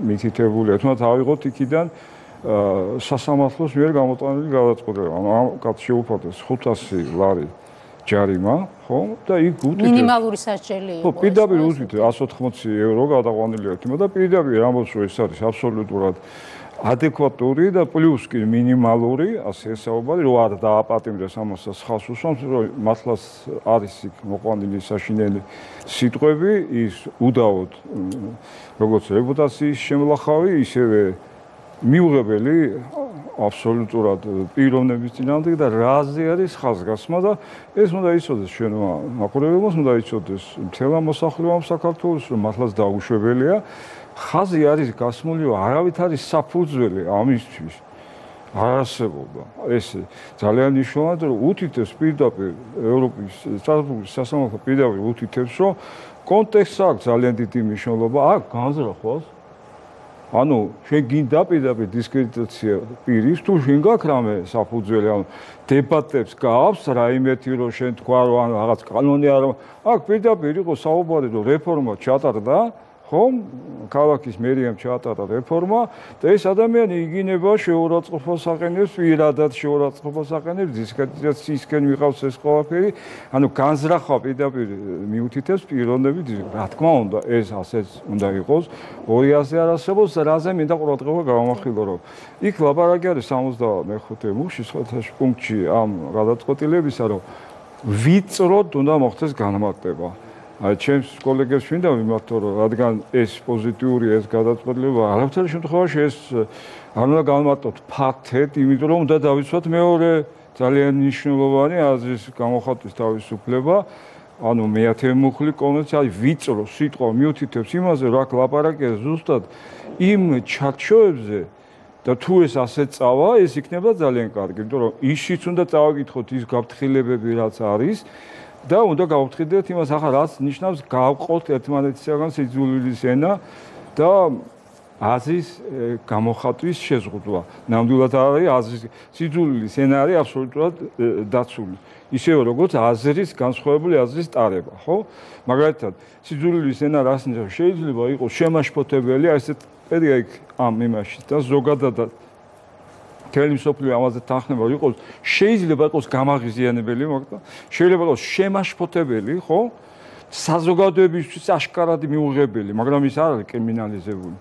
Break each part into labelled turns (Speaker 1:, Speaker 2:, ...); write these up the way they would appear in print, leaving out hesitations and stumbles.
Speaker 1: მითითებულია. თუმცა ავიღოთ იქიდან სასამართლოს მიერ გამოტანილი გადაწყვეტილება. ამ კაცს შეუფარდეს 500 ლარი ჯარიმა, ხო? და იქ უთითებს
Speaker 2: მინიმალური სასჯელი იყო.
Speaker 1: ხო, პირდაპირ უთითებს 180 евро გადაყვანილი ერთმა და პირდაპირ ამბობს, რომ ეს არის აბსოლუტურად ადეკვატური და პლუს კი მინიმალური, ასე ესაუბარი, რომ არ დააპატიმრეს ამასაც ხალხს უსვამს, რომ მართლაც არის იქ მოყვანილი საშინელი სიტყვები, ის უდავოდ როგორც რეპუტაციის შემლახავი, ისევე მიუღებელი აბსოლუტურად პიროვნების წინააღმდეგ და რაზე არის ხაზგასმა და ეს უნდა იცოდეს ჩვენმა მაყურებელს, უნდა იცოდეს მთელმა მოსახლეობამ საქართველოს, რომ მართლაც დაუშვებელია. ხაზი არის გასმული, რომ არავით არის საფუძველი ამისთვის არ არსებობა. ეს ძალიან მნიშვნელოვანია, რომ უთითებს პირდაპირ ევროპის საფუძვლის სასამართლო პირდაპირ უთითებს, რომ კონტექსტს აქვს ძალიან დიდი მნიშვნელობა. აქ განზრახვას ანუ შენ გინდა პირდაპირ დისკრედიტაცია პირის თუ შენ გაქვს რამე საფუძველი ანუ დებატებს გაქვს რაიმეთი რომ შენ თქვა რომ ან რაღაც კანონი არ აქ პირდაპირ იყო საუბარი რომ რეფორმა ჩატარდა ხომ ქალაქის მერიამ ჩაატარა რეფორმა და ეს ადამიანი იგინება შეურაცხყოფას აყენებს პირადად შეურაცხყოფას აყენებს დისკრედიტაციისკენ ვიყავს ეს ყველაფერი ანუ განზრახვა პირდაპირ მიუთითებს პიროვნების რა თქმა უნდა ეს ასეც უნდა იყოს 200-ზე არ არსებობს რაზე მინდა ყურადღება გავამახვილო რომ იქ ლაპარაკი არის 75 მუხში სხვათა პუნქტში ამ გადაწყვეტილებისა რომ ვიწროდ უნდა მოხდეს განმარტება ჩემს კოლეგებს მინდა ვიმართო რომ რადგან ეს პოზიტიური ეს გადაწყვეტილება არაფერი შემთხვევაში ეს არ უნდა განმარტოთ ფაქტეთ იმიტომ რომ უნდა დავიცვათ მეორე ძალიან მნიშვნელოვანი აზრის გამოხატვის თავისუფლება ანუ მეათე მუხლი კონვენცია ვიწრო სიტყვა მიუთითებს იმაზე რომ აქ ლაპარაკია ზუსტად იმ ჩარჩოებზე და თუ ეს ასე წავა ეს იქნება ძალიან კარგი იმიტომ რომ ისიც უნდა წავაკითხოთ ის გაფრთხილებები რაც არის და უნდა გავფრთხილდეთ იმას ახლა რაც ნიშნავს გავყოთ ერთმანეთისაგან სიძულვილის ენა და აზრის გამოხატვის შეზღუდვა. ნამდვილად არის აზრის სიძულვილის ენა არის აბსოლუტურად დაცული. ისევე როგორც აზრის განსხვავებული აზრის ტარება, ხო? მაგალითად, სიძულვილის ენა რას ნიშნავს? შეიძლება იყოს შემაშფოთებელი, ასეთ პერია იქ ამ იმაში და ზოგადად თელი მსოფლიო ამაზე თანხმდება იყოს შეიძლება იყოს გამაღიზიანებელი მაგრამ შეიძლება იყოს შემაშფოთებელი ხო საზოგადოებისთვის აშკარად მიუღებელი მაგრამ ის არ არის კრიმინალიზებული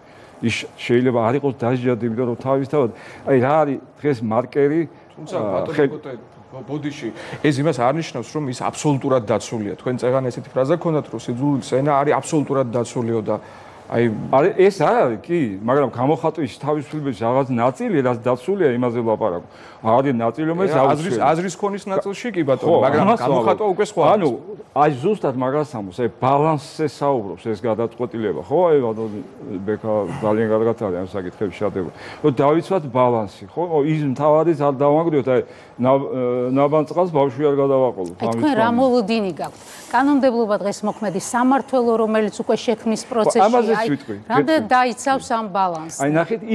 Speaker 1: ის შეიძლება არ იყოს დაჟადი იმიტომ რომ თავისთავად აი რა არის დღეს მარკერი
Speaker 3: თუმცა ბოდიში ეს იმას არ ნიშნავს რომ ის აბსოლუტურად დაცულია თქვენ წეგან ესეთი ფრაზა გქონდათ რომ სიძულვილის ენა არის აბსოლუტურად დაცულიო და აი
Speaker 1: ეს არ არის კი მაგრამ გამოხატვის თავისუფლების რაღაც ნაწილი რაც დაცულია იმაზე ლაპარაკობ არის ნაწილი რომელიც
Speaker 3: აზრის ქონის ნაწილში კი ბატონო მაგრამ გამოხატვა უკვე სხვა
Speaker 1: ანუ აი ზუსტად მაგას ამბობს აი ბალანსზე საუბრობს ეს გადაწყვეტილება ხო აი ბატონო ბექა ძალიან კარგად არის ამ საკითხებში შეტევა რომ დავიცვათ ბალანსი ხო ის მთავარიც არ დავანგრიოთ აი ნაბანწყალს ბავშვი არ გადავაყოლოთ
Speaker 2: ამის თქვენ რა მოლოდინი გაქვთ კანონმდებლობა დღეს მოქმედი სამართველო რომელიც უკვე შექმნის პროცესში
Speaker 1: აი
Speaker 2: რამდენად დაიცავს ამ ბალანსს
Speaker 1: აი ნახეთ იქ